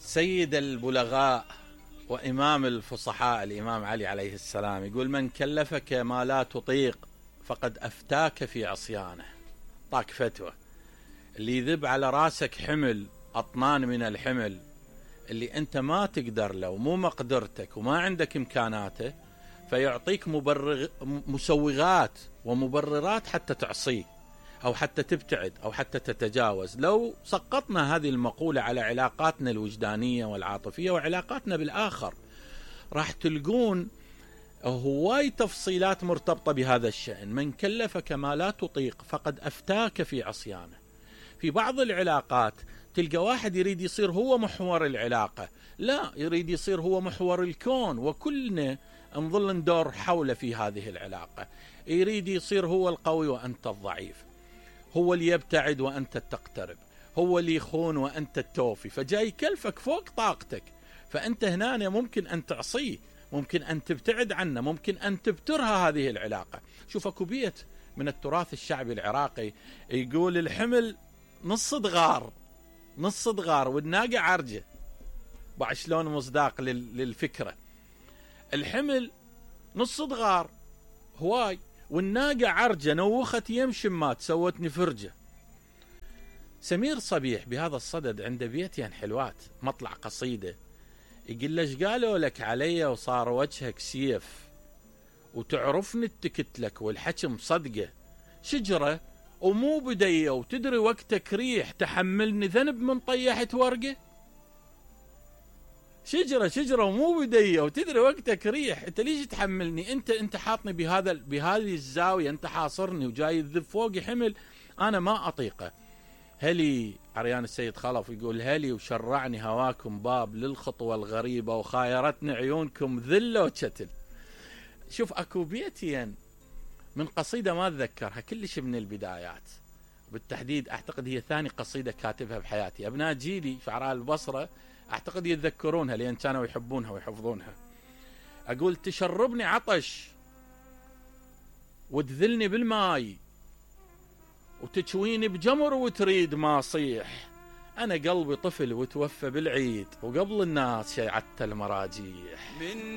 سيد البلغاء وإمام الفصحاء الإمام علي عليه السلام يقول: من كلفك ما لا تطيق فقد أفتاك في عصيانه. طاك فتوى. اللي يذب على راسك حمل أطنان من الحمل اللي أنت ما تقدر له ومو مقدرتك وما عندك إمكاناته، فيعطيك مسوغات ومبررات حتى تعصيه أو حتى تبتعد أو حتى تتجاوز. لو سقطنا هذه المقولة على علاقاتنا الوجدانية والعاطفية وعلاقاتنا بالآخر، راح تلقون هواي تفصيلات مرتبطة بهذا الشأن. من كلفك ما لا تطيق فقد أفتاك في عصيانه. في بعض العلاقات تلقى واحد يريد يصير هو محور العلاقة، لا، يريد يصير هو محور الكون، وكلنا نظل ندور حوله في هذه العلاقة. يريد يصير هو القوي وأنت الضعيف، هو اللي يبتعد وأنت تقترب، هو اللي يخون وأنت التوفي، فجاي يكلفك فوق طاقتك. فأنت هنا ممكن أن تعصيه، ممكن أن تبتعد عنه، ممكن أن تبترها هذه العلاقة. شوف، أكو بيت من التراث الشعبي العراقي يقول: الحمل نص دغار، نص دغار والناقة عرجة. بعد شلون مصداق للفكرة. الحمل نص دغار هواي، والناقة عرجة، نوخت يمشي مات سوتني فرجة. سمير صبيح بهذا الصدد عنده بيتين حلوات، مطلع قصيدة يقول: ليش قالوا لك علي وصار وجهك سيف، وتعرفني اتكت لك والحكي مصدقه، شجرة ومو بدية وتدري وقتك ريح، تحملني ذنب من طيحت ورقة. شجرة ومو بدية وتدري وقتك ريح، انت ليش تحملني؟ انت حاطني بهذه الزاوية، انت حاصرني وجاي تذب فوقي حمل انا ما اطيقه. هلي عريان السيد خلف يقول: هلي وشرعني هواكم باب للخطوة الغريبة، وخايرتني عيونكم ذلة وشتل. شوف، اكو بيتين من قصيدة ما اتذكرها كلش من البدايات، بالتحديد اعتقد هي ثاني قصيدة كاتبها بحياتي. ابناء جيلي شعراء البصرة اعتقد يتذكرونها لان كانوا يحبونها ويحفظونها. اقول: تشربني عطش وتذلني بالماي، وتشويني بجمر وتريد ما صيح، انا قلبي طفل وتوفى بالعيد، وقبل الناس شيعت المراجيح.